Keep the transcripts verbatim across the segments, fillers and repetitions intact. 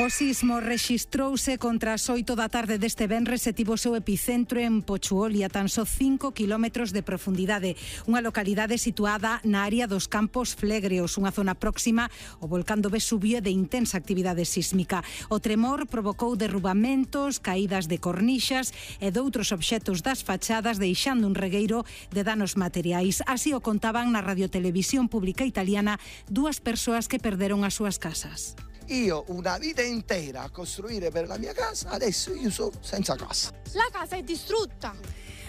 O sismo rexistrouse contra as oito da tarde deste venres e tivo o seu epicentro en Pochuoli, a tan só cinco kilómetros de profundidade, unha localidade situada na área dos Campos Flegreos, unha zona próxima ao volcán do Vesubio de intensa actividade sísmica. O tremor provocou derrubamentos, caídas de cornixas e de outros obxectos das fachadas, deixando un regueiro de danos materiais. Así o contaban na radiotelevisión pública italiana dúas persoas que perderon as súas casas. Io una vita intera a costruire per la mia casa, adesso io sono senza casa. La casa è distrutta.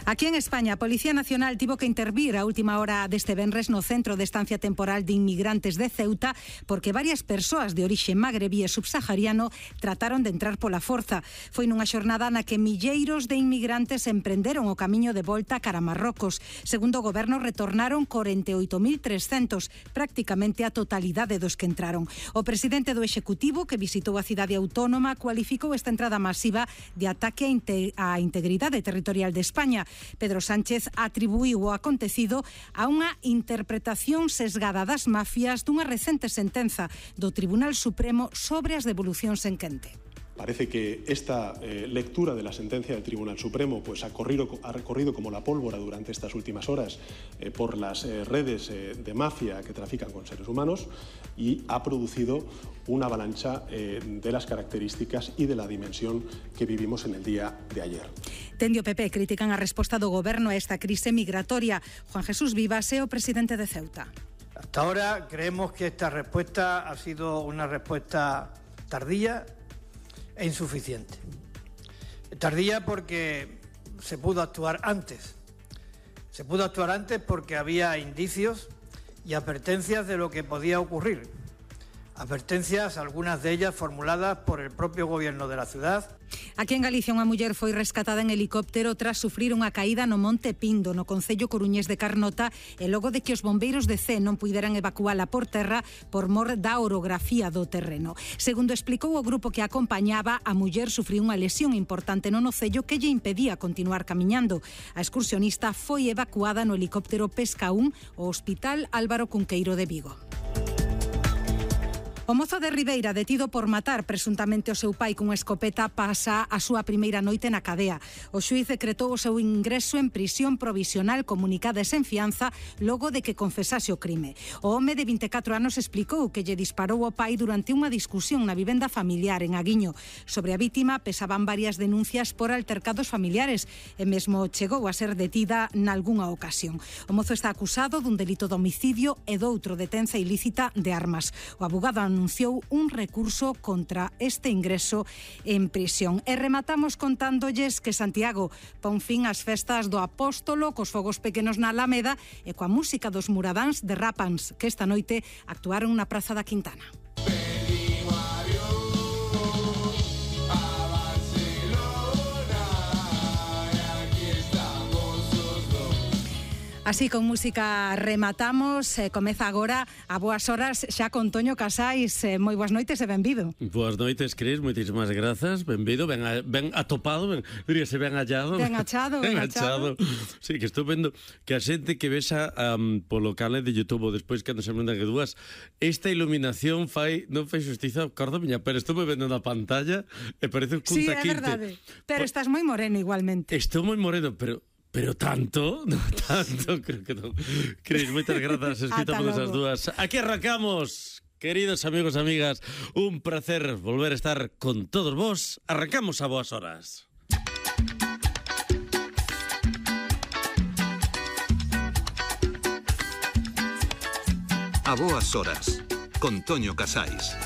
Aquí en España, a Policía Nacional tivo que intervir a última hora deste venres no centro de estancia temporal de inmigrantes de Ceuta porque varias persoas de orixe magrebí e subsahariano trataron de entrar pola forza. Foi nunha xornada na que milleiros de inmigrantes emprenderon o camiño de volta cara a Marrocos. Segundo o goberno, retornaron corenta e oito mil trescentos, prácticamente a totalidade dos que entraron. O presidente do Executivo, que visitou a cidade autónoma, cualificou esta entrada masiva de ataque á integridade territorial de España. Pedro Sánchez atribuiu o acontecido a unha interpretación sesgada das mafias dunha recente sentenza do Tribunal Supremo sobre as devolucións en quente. Parece que esta eh, lectura de la sentencia del Tribunal Supremo pues, ha, corrido, ha recorrido como la pólvora durante estas últimas horas eh, por las eh, redes eh, de mafia que trafican con seres humanos y ha producido una avalancha eh, de las características y de la dimensión que vivimos en el día de ayer. Dende o P P critican a resposta do goberno a esta crise migratoria. Juan Jesús Vivas é o presidente de Ceuta. Hasta ahora creemos que esta respuesta ha sido una respuesta tardía e insuficiente. Tardía porque se pudo actuar antes. Se pudo actuar antes porque había indicios y advertencias de lo que podía ocurrir. Advertencias, algunas de ellas formuladas por el propio gobierno de la ciudad. Aquí en Galicia unha muller foi rescatada en helicóptero tras sufrir unha caída no Monte Pindo, no concello coruñés de Carnota, e logo de que os bombeiros de Cee non puideran evacuala por terra por mor da orografía do terreno. Segundo explicou o grupo que acompañaba, a muller sufriu unha lesión importante no nocello que lle impedía continuar camiñando. A excursionista foi evacuada no helicóptero Pesca un ao Hospital Álvaro Cunqueiro de Vigo. O mozo de Ribeira, detido por matar presuntamente o seu pai cunha escopeta, pasa a súa primeira noite na cadea. O xuíz decretou o seu ingreso en prisión provisional comunicada e sen fianza logo de que confesase o crime. O home de vinte e catro anos explicou que lle disparou ao pai durante unha discusión na vivenda familiar en Aguiño. Sobre a vítima pesaban varias denuncias por altercados familiares e mesmo chegou a ser detida nalgunha ocasión. O mozo está acusado dun delito de homicidio e doutro de tenza ilícita de armas. O abogado anunciou un recurso contra este ingreso en prisión. E rematamos contándolles que Santiago pon fin ás festas do Apóstolo cos fogos pequenos na Alameda e coa música dos Muradáns de Rapans, que esta noite actuaron na Praza da Quintana. Así, con música rematamos. Eh, comeza agora a Boas Horas xa con Toño Casais. Eh, moi boas noites e benvido. Boas noites, Cris, moitísimas grazas. Benvido, ben, a, ben atopado, ben, diríase ben hallado. Ben achado, ben, ben achado. Sí, que estou vendo que a xente que vexa um, polo canal de YouTube ou despois cando se manda que dúas, esta iluminación fai, non fai xustiza, corda miña, pero estou me vendo na pantalla e parece un cuntaquinte. Sí, é verdade. Pero pa... estás moi moreno igualmente. Estou moi moreno, pero... Pero tanto, no tanto, creo que non. Cris, moitas grazas, escritamos as dúas. Aquí arrancamos, queridos amigos e amigas. Un placer volver a estar con todos vos. Arrancamos a Boas Horas. A Boas Horas, con Toño Casais.